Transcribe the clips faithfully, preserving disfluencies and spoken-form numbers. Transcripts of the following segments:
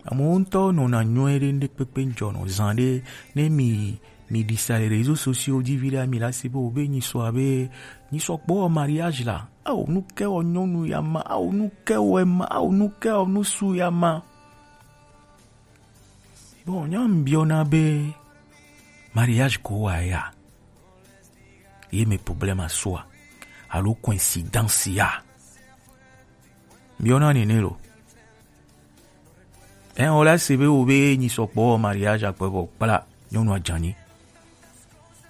Amewo ŋutɔ nɔna nyuie ɖe ŋɖekpekpe ŋdzɔ nɔ zan ɖe ne mi mi ɖi sa le réseaux sociaux dzi viɖe mi la se be wobe nyi sɔ abe nyi sɔ kpɔ mariage la. Ao nu ke wɔ nyɔnu ya ma, ao nu ke wɔ ema, ao nu ke wɔ nusu ya ma. Bon, nya ŋbiɔna be mariage ko wa ya ye me problème asua alo coïncidence ya. Ŋbiɔna nene lo. Ɛ, o la se be wo be nyi sɔ kpɔ mariage akpɔ bɔ kpla nyɔnu ajanyi.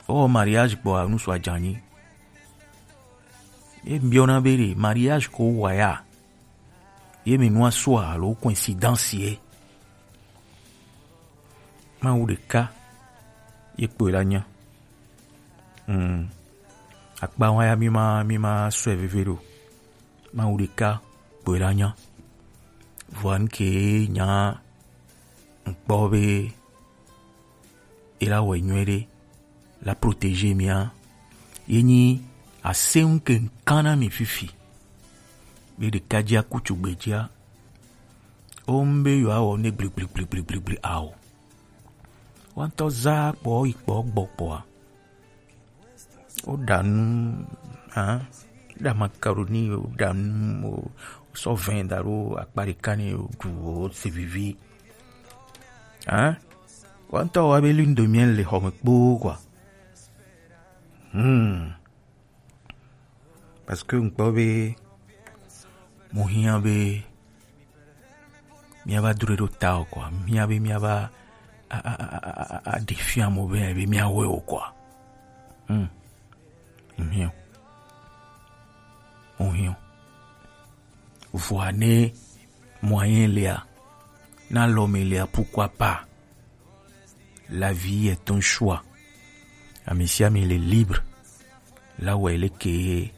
O mariage kpɔ anusu ajanyi. E biɔna be ɖe mariage ko wa ya. Ye me nua sua alo coïncidence ye. Mawu ɖeka ye kpɔe la nya. Hmm. Akpa wa ya mi ma mi ma sɔe veve ɖo. Mawu ɖeka kpɔe la nya. Vɔa ŋke nya ŋkpɔ be e la wɔ nyuie ɖe la protéger mia ye nyi aseŋ ke ŋkan na mi fifi. Be ɖeka dzi aku tugbe dzia o ŋbe yewoawɔ ne gbligbligbligbligli ao. Woantɔ za kpɔ yi kpɔ gbɔ kpɔa. Woɖa nu, hein? Woɖa macaroni, woɖa nu, wo- wosɔ vin da ɖo akpa ɖeka ne woɖu, wose vivi. Hein? Woantɔ wa be lune de miel le xɔme kpoo quoi. Hmm. Parce que ŋkpɔ be mo hiã be miava dro ɖo ta o quoi, hiã be miava a- a- a- a- a- a- ɖe fia mo be be miawɔe o quoi. Hmm. Mo hiã o. Mo hiã o. Vɔa ne moyen lea, na lɔ me lea, pourquoi pas? La vie est un choix. Ame sia ame le libre. La wɔ leke ye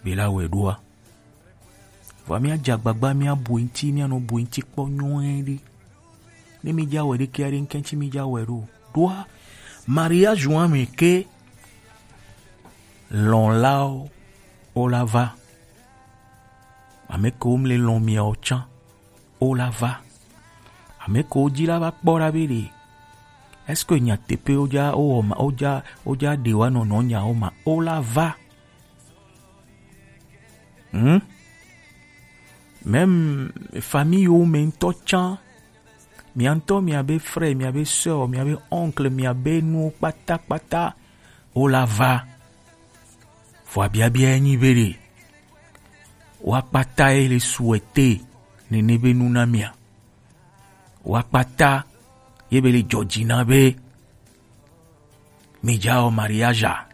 be la wɔe ɖoa. Vɔa mía dze agbagba mía bu eŋti, mía nɔ bu eŋti kpɔ nyuie ɖe. Ne mi dza wɔ ɖeke aɖe ŋkɛntsi mi dza wɔ ɖo. Ɖoa mariage wa me ke lɔn lao o la va. Ame ke wo mle lɔn mia o tsan o la va. Ame ke wo dzi la va kpɔ ɖa be ɖe. Est-ce que nyateƒe wo dza o wɔ ma o dza o dza ɖe wa nɔnɔ nya o ma o la va. Hmm? Même famille wo me ŋutɔ tsã, mia ŋutɔ miabe frère, miabe sœur, miabe oncle, miabe nuwo kpatakpata wo la va. Vɔa biabia ye nyi be ɖe woa kpata ye le souhaiter nene be nu na mia. Woa kpata ye be le dzɔdzi na be mi dza wɔ mariage a?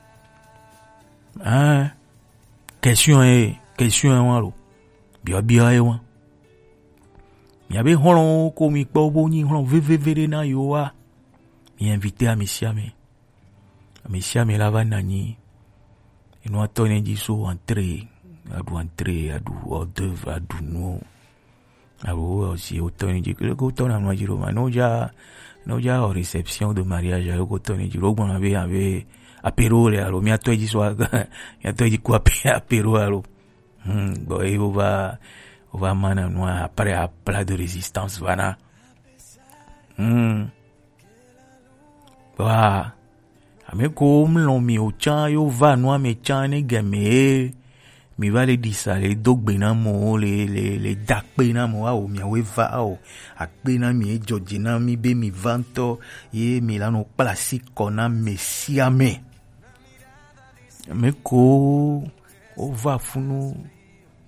Hein? Question ye, question ye wa lo. Biɔbiɔ ye wa. Miabe hlɔ̃wo ko mi kpɔ bo nyi hlɔ̃ veveve ɖe na yewo wa. Mi invite ame sia ame. Ame sia ame la va na anyi. Enua tɔ ne dzi so entrée, aɖu entrée, aɖu hors d'œuvre, aɖu nuwo. Alo woyɔ si wotɔ ni dzi, leke wotɔ na nua dzi ɖo ma? Ne wodza, ne wodza wɔ réception de mariage, leke wotɔ ni dzi ɖo? Wogblɔna be abe apéro le alo miatɔ dzi so, miatɔ dzi ku apé-, apéro alo. Hmm, bon, ye wova, wova ma na nua après à plat de résistance va na. Hmm. Wa, ame ko mlɔ mi o tsã yo va nua me tsã ne game ye mi va le ɖi sa le do gbe na mo le le le da kpe na mo awo miawo va awo akpe na mi edzɔ dzi na mi be mi va ŋutɔ ye mi la nɔ kpla asi kɔ na me sia me. Ame ko wo va funu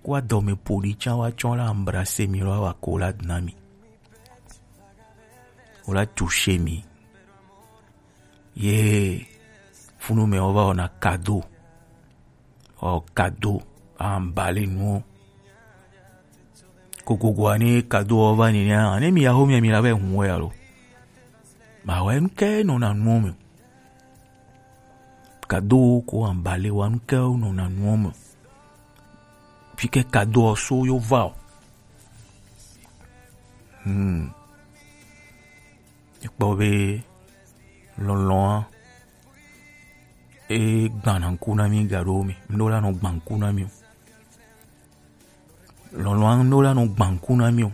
ko adɔme ƒo ɖi tsã wa tsɔ la embrasser mi lɔ wa accolade na mi. Wola toucher mi. Ye funu me wova wɔna cadeau. Ɔ cadeau, emballer nuwo. Kokogoa ne cadeau wova ni nɛ, ne mi ya ho mi mi la be hun wɛ alo. Ma wɛ nu ke nɔna nuwo me. Cadeau ko emballer wa nu ke nɔna nuwo me. Fi ke cadeau so yo va o. Hmm. Ekpɔ be lɔlɔ̃a e gbana ŋku na mi gaɖo me. Ŋɖo la nɔ gba ŋku na mi o. Lɔlɔ̃a ŋɖo la nɔ gba ŋku na mi o.